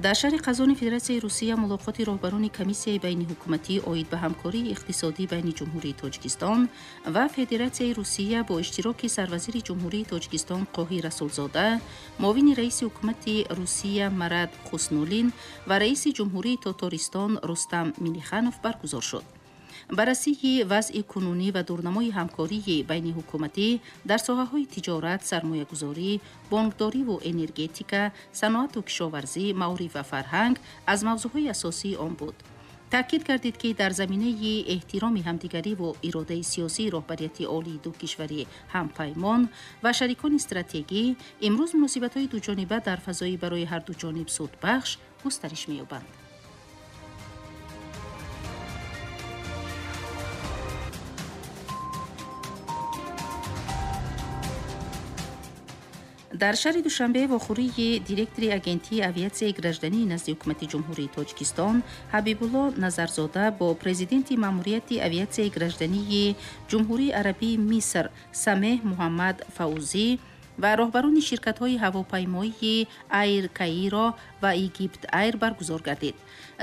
Дар шаҳри Қазони Федератсияи Русия мулоқоти роҳбарони комиссияи байниҳукуматӣ оид ба ҳамкории иқтисодӣ байни Ҷумҳурии Тоҷикистон ва Федератсияи Русия бо иштироки сарвазири Ҷумҳурии Тоҷикистон Қоҳир Расулзода, муовини раиси ҳукумати Русия Марат Хуснуллин ва раиси Ҷумҳурии Тотористон Рустам Минниханов баргузор шуд. Баррасии вазъи кунунӣ ва дурнамои ҳамкории байниҳукуматӣ дар соҳаҳои тиҷорат, сармоягузорӣ, бонкдориву энергетика, саноату кишоварзӣ, маориф ва фарҳанг аз мавзӯъҳои асосии он буд. Таъкид гардид, ки дар заминаи эҳтироми ҳамдигариву иродаи сиёсии роҳбарияти олии ду кишвари ҳампаймон ва шарикони стратегӣ имрӯз муносибатҳои дуҷониба дар фазои барои ҳарду ҷониб судбахш густариш меёбанд. Дар шаҳри Душанбе вохӯрии директори Агентии авиатсияи граждании назди ҳукумати Ҷумҳурии Тоҷикистон Ҳабибулло Назарзода бо президенти Маъмурияти авиатсияи граждании Ҷумҳурии Арабии Миср Самеҳ Муҳаммад Фаузӣ ва роҳбарони ширкатҳои ҳавопаймоии Айр Каиро ва Египт Айр баргузор гардид.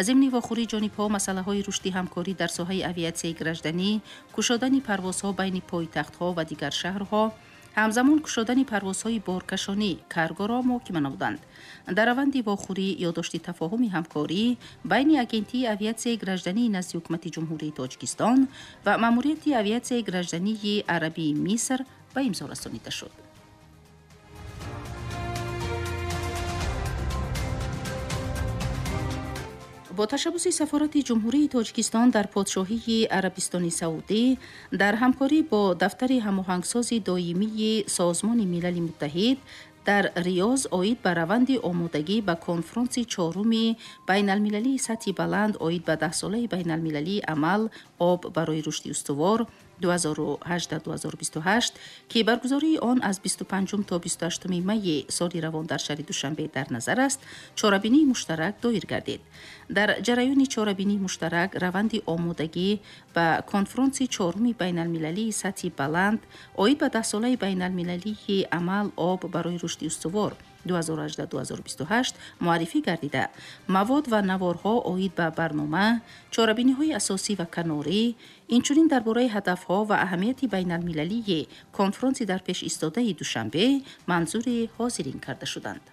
Зимни вохӯрии ҷонибҳо масъалаҳои рушди ҳамкорӣ дар соҳаи авиатсияи гражданӣ, кушодани парвозҳо байни пойтахтҳо ва дигар шаҳрҳо, ҳамзамон кушодани парвозҳои боркашонӣ каргоро муҳокима намуданд. Дар раванди вохӯрӣ ёддошти тафоҳуми ҳамкорӣ байни Агентии авиатсияи граждании назди ҳукумати Ҷумҳурии Тоҷикистон ва Маъмурияти авиатсияи граждании Арабии Миср ба имзо расонида шуд. Бо ташаббуси Сафорати Ҷумҳурии Тоҷикистон дар Подшоҳии Арабистони Саудӣ дар ҳамкорӣ бо дафтари ҳамоҳангсози доимии Созмони Милали Муттаҳид дар Риёз оид ба раванди омодагӣ ба конфронси чоруми байналмилалии сатҳи баланд оид ба даҳсолаи байналмилалии амал об барои рушди устувор 2018-2028, ки баргузории он аз 25 то 28 майи соли равон дар шаҳри Душанбе дар назар аст, чорабинии муштарак доир гардид. Дар ҷараёни чорабинии муштарак раванди омодагӣ ба конфронси чоруми байналмилалии сатҳи баланд оид ба даҳсолаи байналмилалии амал об барои рушди устувор 2018-2028 муаррифӣ гардида, мавод ва наворҳо оид ба барнома, чорабиниҳои асосӣ ва канорӣ, инчунин дар бораи ҳадафҳо ва аҳамияти байналмилалии конфронси дар пеш истодаи Душанбе манзури ҳозирин карда шуданд.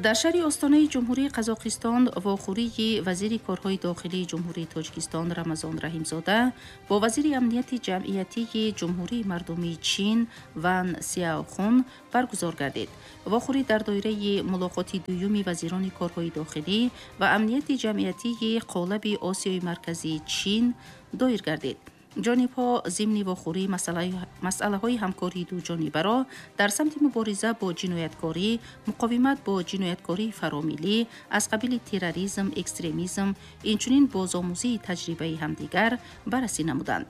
Дар шаҳри Остонаи Ҷумҳурии Қазоқистон вохӯрии вазири корҳои дохилии Ҷумҳурии Тоҷикистон Рамазон Раҳимзода бо вазири амнияти ҷамъиятии Ҷумҳурии Мардумии Чин Ван Сяохун баргузор гардид. Вохӯрӣ дар доираи мулоқоти дуюми вазирони корҳои дохилӣ ва амнияти ҷамъиятии қолаби Осиёи Марказии Чин доир гардид. Ҷонибҳо зимни вохӯрӣ масъалаҳои ҳамкории дуҷонибаро дар самти мубориза бо ҷинояткорӣ, муқовимат бо ҷинояткории фаромиллӣ аз қабили терроризм, экстремизм, инчунин бозомӯзии таҷрибаи ҳамдигар баррасӣ намуданд.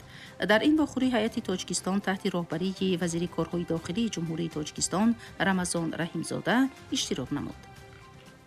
Дар ин вохӯрӣ ҳайати Тоҷикистон таҳти роҳбарии вазири корҳои дохилии Ҷумҳурии Тоҷикистон Рамазон Раҳимзода иштирок намуд.